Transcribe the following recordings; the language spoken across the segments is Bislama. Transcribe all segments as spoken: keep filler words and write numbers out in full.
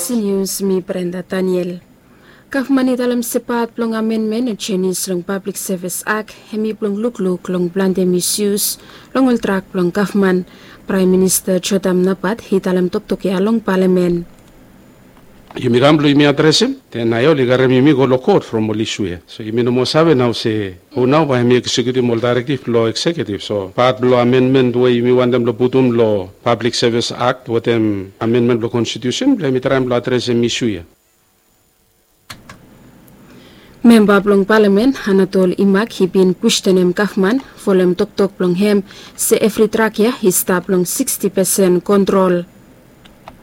Nius, mi Brenda Daniel. Gavman i talem se pat blong amenmen o jenis long Pablik Sevis Ak hem i blong lukluk long plante misyus long ol trak blong gavman. Praem Minista Jotam Napat i talem toktok ya long palamen. Yumi kam blong yumi adresem, den nao oli karem yumi go long kot from ol isu ya. So yumi no moa save nao se hu nao bae hem i eksekiutim ol daerektiv blong eksekiutiv. So pat blong amenmen we yumi wantem blong putum long Pablik Sevis Akt wetem amenmen blong konstitusen blong hem i traem blong adresem isu ya. Memba blong palamen Anatol Imak i bin kwestenem gavman folem toktok blong hem se evri trak ya i stap long siksti pesen kontrol.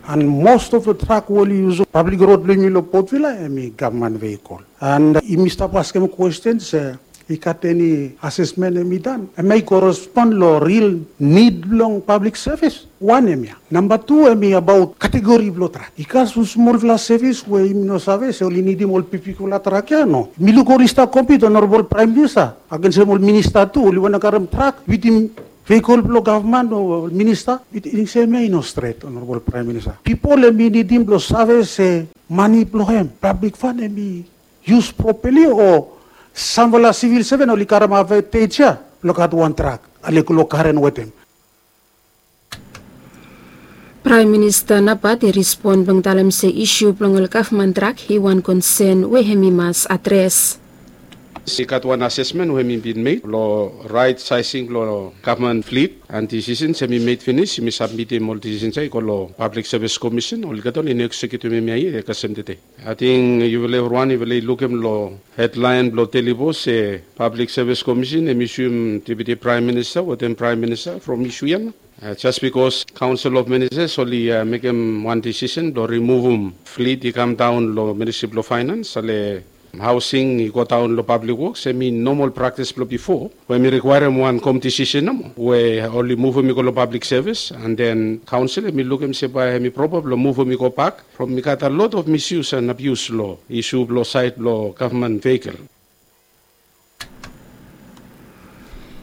And most of the truck we oli yusum pablik rod blong yumi long Port Vila hem i gavman veikol. And yumi stap askem kwesten se i gat eni asesmen hem i dan hem i korespon long ril nid blong pablik sevis. Wan hem ya. Namba tu hem i abaot kategori blong trak. I gat sam smolfala sevis we yumi no save se oli nidim ol bigfala trak ya, no? Mi luk oli stap kompit, Honorable Praem Minista, agensem ol minista tu oli wantem karem trak wetem veikol blong gavman o minista. Wetem i ting se hemia i no stret, Honorable Praem Minista. Pipol hem i nidim blong save se mane blong hem, pablik fan, hem i yus propali o samfala sivil seven oli karem advantage ya blong gat wan trak ale long karen wetem. Praem Minista Napat i respon blong talem se isu blong ol gavman trak i wan konsen we hem i mas adres. I gat wan asesmen we hem i bin mekem long raet saesing blong gavman flit, and disisen hem i mekem finis, yumi sabmitim ol disisen ya i go long Pablik Sevis Komisen, olgeta oli no eksekiutim hemia yet kasem tede. Ating yufala evriwan yufala i lukim long hedlaen blong Daily Post se Pablik Sevis Komisen hem i suem Deputi Praem Minista wetem Praem Minista from isu ya nao. Jes bikos Kaonsel of Ministas oli mekem wan disisen blong rimuvum flit i kamdaon long Ministri blong Faenans, ale haosing i godaon long Pablik Woks, hem i nomol praktis blong bifo we hem i rikwaerem wan kompetisen nomo we oli muvum i go long pablik sevis, and then kaonsel hem i lukim se bae hem i propa blong muvum i gobak from i gat a lot of misyus and abius long isu blong saed blong gavman veikol.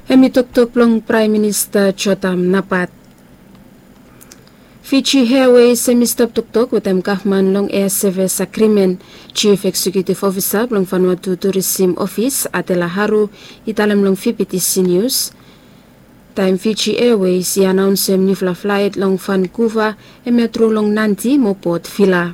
Hem i toktok blong Praem Minista Jotam Napat. Fiji Airways hem i stap toktok wetem gavman long air sevis agrimen. Jif Eksekiutiv Ofisa blong Vanuatu Turisim Ofis, Adela Haru, i talem long V B T C Nius. Taem Fiji Airways i anaonsem niufala flaet long Vankuva, hemia tru long Nadi mo Port Vila.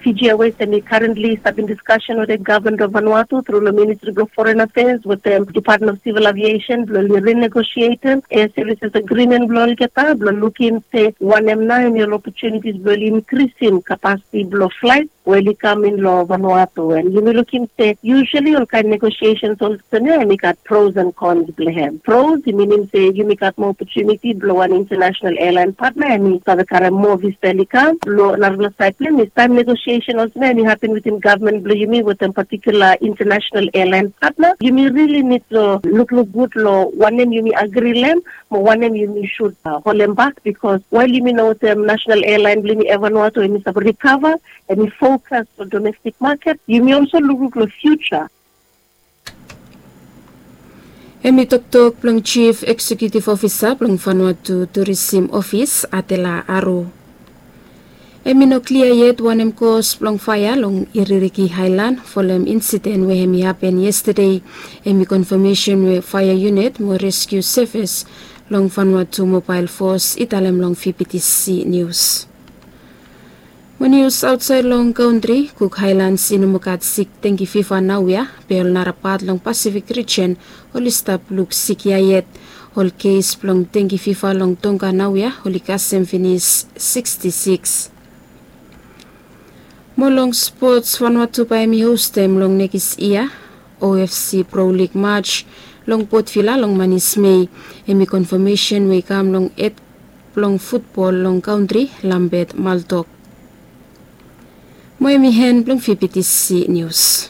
Fiji Airways hem i karentli stap in diskasen wetem gavman blong Vanuatu tru long Ministri blong Foren Afeas wetem Department of Civil Aviation blong oli rinegosietem air services agreement blong olgeta blong lukim se wanem nao hem i ol opotunitis blong oli inkrisim kapasiti blong flaet we oli kam in long Vanuatu. And yumi lukim se usually olkaen negosiesens olsem ya hem i gat pros and cons blong hem. Pros i minim se yumi gat moa opotuniti blong wan international airline partner, hem i save karem moa visa oli kam. Long narafala saed blong hem i taem negosiesen olsem ya hem i hapen wetem gavman blong yumi wetem patikula international airline partner, yumi rili nid long lukluk gud long wanem yumi agri long hem mo wanem yumi sud holem bak, bikos wael yumi no wetem nasenal airline blong yumi, Air Vanuatu hem i save rikava, hem i fokas long domestik maket, yumi olso lukluk long fiuja. Hem i toktok blong Jif Eksekiutiv Ofisa blong Vanuatu Turisim Ofis, Adela Haru. Hem i no klia yet wanem kos blong faea long Iririki Aelan folem insiden we hem i hapen yestade. Hem i konfamesen we faea yunit mo reskiu sevis long Vanuatu Mobael Fos i talem long V B T C Nius. Mo nius aotsaed long kantri, Kuk Aelans i no moa gat sik dengki fiva naoia, be ol nara pat long Pasifik rijen oli stap luk sik ya yet. Ol kes blong dengki fiva long Tonga naoia oli kasem finis siksti siks. Mo long spots, Vanuatu bae hem i hostem long nekis yia O F C Pro Lig maj long Port Vila long manis Mei. Hem i konfamesen we i kam long hed blong futbol long kantri, Lambert Murdoch. Mo hem i hen blong V B T C Nius.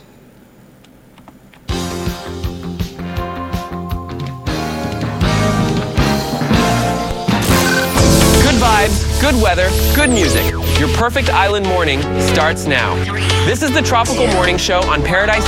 Good vibes, good weather, good music. Your perfect island morning starts now. This is the Tropical Morning Show on Paradise